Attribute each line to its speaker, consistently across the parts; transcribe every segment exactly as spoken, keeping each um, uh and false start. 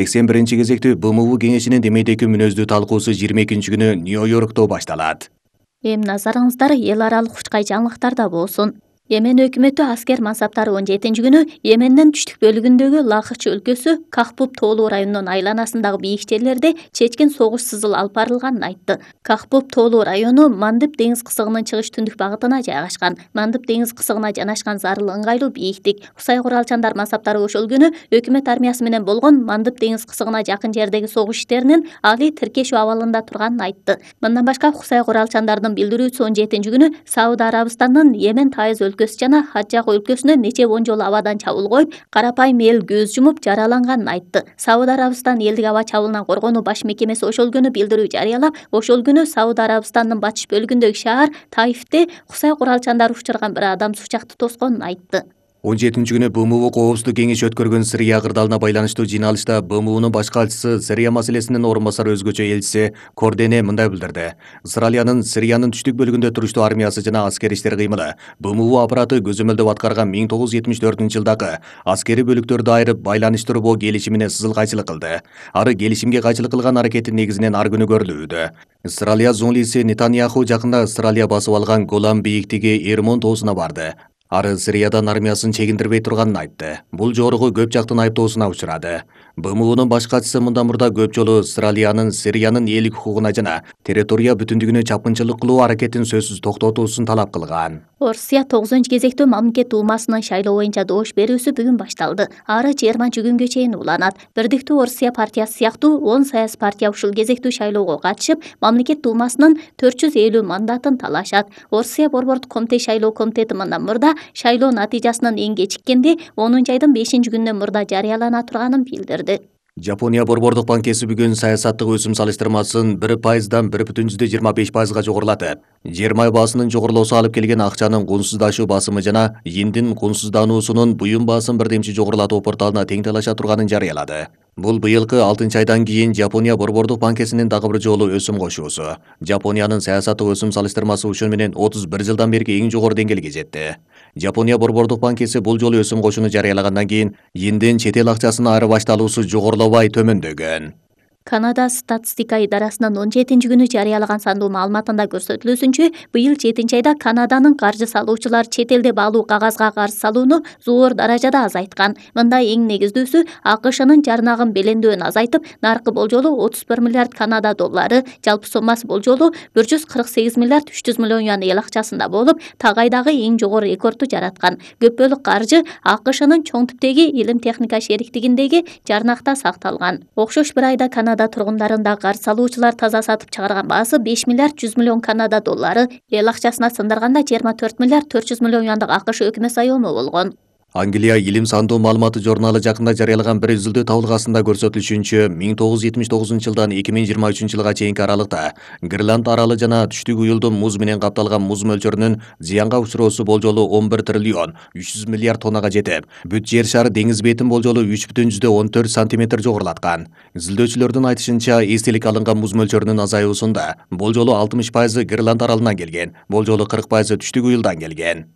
Speaker 1: сексен биринчи кезектүү Б М У кеңешинин демейдеги мүнөздүү талкуусу жыйырма экинчи күнү Нью-Йоркто башталат.
Speaker 2: Эми назарыңыздар эл аралык учкай жаңылыктарда болсун. Йемен өкмөтү аскер мансаптары он жетинчи күнү Йемендин түштүк бөлүгүндөгү Лахыч өлкөсү Кахбуб тоолуу районунун айланасындагы бийик жерлерде чечкен согуш сызыл алып барылганын айтты. Кахбуб тоолуу району Мандып деңиз кысыгынын чыгыш түндүк багытына жайгашкан. Мандып деңиз кысыгына жанашкан зарыл ыңгайлуу бийиктик. Кусай куралчандар мансаптары ошол күнү өкмөт армиясы менен болгон Мандып деңиз кысыгына жакын жердеги согуш иштеринин али тиркешүү абалында турганын айтты. Мындан башка Кусай куралчандардын билдирүүсү он жетинчи күнү Сауд Арабистанынын Йемен Тайыз жана Хаджак өлкөсүнө нече он жолу абадан чабуул коюп, карапайым эл көз жумуп жараланганын айтты. Сауд Арабистан элдик аба чабуулунан коргонуу баш мекемеси ошол күнү билдирүү жарыялап, ошол күнү Сауд Арабистандын батыш бөлүгүндөгү шаар Таифте Кусай куралчандары учурган бир адамсыз учакты тосконун айтты.
Speaker 1: он жетинчи күнү Б М У коопсуздук кеңеши өткөргөн Сирия кырдаалына байланыштуу жыйналышта Б М Унун баш катчысы Сирия маселесинин орун басары өзгөчө элчиси Кордене мындай билдирди. Израилянын Сириянын түштүк бөлүгүндө туруштуу армиясы жана аскер иштер кыймылы Б М У аппараты көзөмөлдөп аткарган миң тогуз жүз жетимиш төртүнчү жылдагы аскери бөлүктөрдү айырып байланыштырбоо келишимине сызыл кайчылык кылды. Ары келишимге кайчылык кылган аракети негизинен ар күнү көрүлүүдө. Израилия зунлиси Нетаньяху жакында Израилия басып алган Голан бийиктиги Эрмон тоосуна барды. Ары Сириядан армиясын чегиндирбей турганын айтты. Бул жогорку көп жактын айыптоосуна учурады. Б М Унун баш катчысы мындан мурда көп жолу Израилянын Сириянын элдик укугуна жана территория бүтүндүгүнө чапкынчылык кылуу аракетин сөзсүз токтотуусун талап кылган.
Speaker 2: Орусия тогузунчу кезектүү мамлекет дуумасынын шайлоо боюнча добуш берүүсү бүгүн башталды. Ары жыйырманчы күнгө чейин уланат. Бирдиктүү Орусия партиясы сыяктуу он саясий партия ушул кезектүү шайлоого катышып, мамлекет дуумасынын төрт жүз элүү мандатын талашат. Орусия борбордук комитет шайлоо комитети мындан мурда шайлоо натыйжасынын эң кечиккенде онунчу айдын бешинчи күнүнөн мурда жарыялана турганын билдирди.
Speaker 1: Жапония борбордук банкеси бүгүн саясаттык өсүм салыштырмасын бир пайыздан бир бүтүн жүздө жыйырма беш пайызга жогорулатып, жер май баасынын жогорулоосу алып келген акчанын кунсуздашуу басымы жана индин кунсуздануусунун буюм баасын бирдемчи жогорулатуу порталына тең талаша турганын жарыялады. Бул быйылкы алтынчы айдан кийин Жапония борбордук банкесинин дагы бир жолу өсүм кошуусу. Жапониянын саясаттык өсүм салыштырмасы ушун менен отуз бир жылдан берки эң жогору деңгээлге жетти. Жапония борбордук банкеси бул жолу өсүм кошууну жарыялагандан кийин индин чет эл акчасына айырбашталуусу жогорулабай төмөндөгөн.
Speaker 2: Канада статистика идарасынын он жетинчи күнү жарыялаган сандуу маалыматында көрсөтүлүүсүнчө, быйыл жетинчи айда Канаданын каржы салуучулар чет элде баалуу кагазга карыз салууну зор даражада азайткан. Мындай эң негиздүүсү А К Шнын жарнагын белеңдөөүн азайтып, наркы болжолу отуз бир миллиард Канада доллары, жалпы соммасы болжолу бир жүз кырк сегиз миллиард үч жүз миллион юан эл акчасында болуп, тагайдагы эң жогору рекордду жараткан. Көп бөлүк каржы А К Шнын чоң типтеги илим техника шериктигиндеги жарнакта сакталган. Окшош бир айда Канада тургундарында карыз салуучулар таза сатып чыгарган баасы беш миллиард жүз миллион Канада доллары, эл акчасына сындырганда жыйырма төрт миллиард төрт жүз миллион юандык А К Ш өкмөт союму болгон.
Speaker 1: Англия илим сандуу маалыматы журналы жакында жарыялаган бир изилдөө табылгасында көрсөтүлүшүнчө, миң тогуз жүз жетимиш тогузунчу жылдан эки миң жыйырма үчүнчү жылга чейинки аралыкта Гренланд аралы жана түштүк уюлдун муз менен капталган муз мөлчөрүнүн зыянга учуроосу болжолу он бир триллион үч жүз миллиард тоннага жетип, бүт жер шары деңиз бетин болжолу үч бүтүн жүздө он төрт сантиметр жогорулаткан. Изилдөөчүлөрдүн айтышынча, эстелик алынган муз мөлчөрүнүн азаюусунда болжолу алтымыш пайызы Гренланд аралынан келген, болжолу кырк пайызы түштүк уюлдан келген.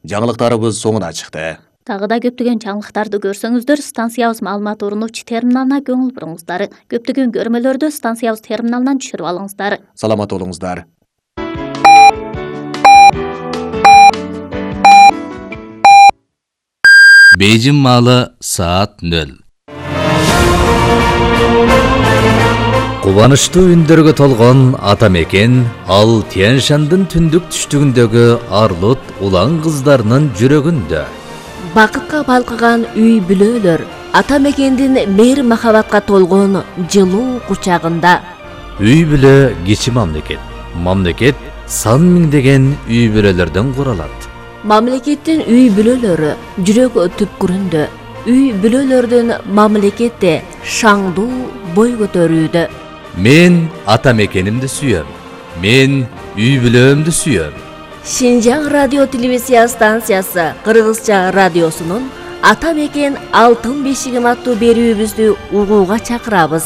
Speaker 1: Жаңылыктарыбыз соңуна чыкты.
Speaker 2: Тагы да көптөгөн жаңылыктарды көрсөңүздөр, станциябыз маалымат орунуучу терминалына көңүл буруңуздар. Көптөгөн көрмөлөрдү станциябыз терминалынан түшүрүп алыңыздар.
Speaker 1: Саламат болуңуздар.
Speaker 3: Бейжин маалы саат нөл. Кубанычтуу үндөргө толгон ата мекен ал Тянь-Шандын түндүк түштүгүндөгү арлут улан кыздарынын жүрөгүндө.
Speaker 4: Бакытка балкыган үй бүлөлөр ата мекендин мейир махабатка толгон жылуу кучагында.
Speaker 3: Үй бүлө кичи мамлекет. Мамлекет сан миңдеген үй бүлөлөрдөн куралат.
Speaker 4: Мамлекеттин үй бүлөлөрү жүрөк түпкүрүндө. Үй бүлөлөрдүн мамлекетте шаңдуу бой көтөрүүдө.
Speaker 3: Мен ата мекенимди сүйөм. Мен үй бүлөмдү сүйөм.
Speaker 4: Шинжаң радио телевизия станциясы Кыргызча радиосунун Ата мекен алтын бешигим аттуу берүүбүздү угууга чакырабыз.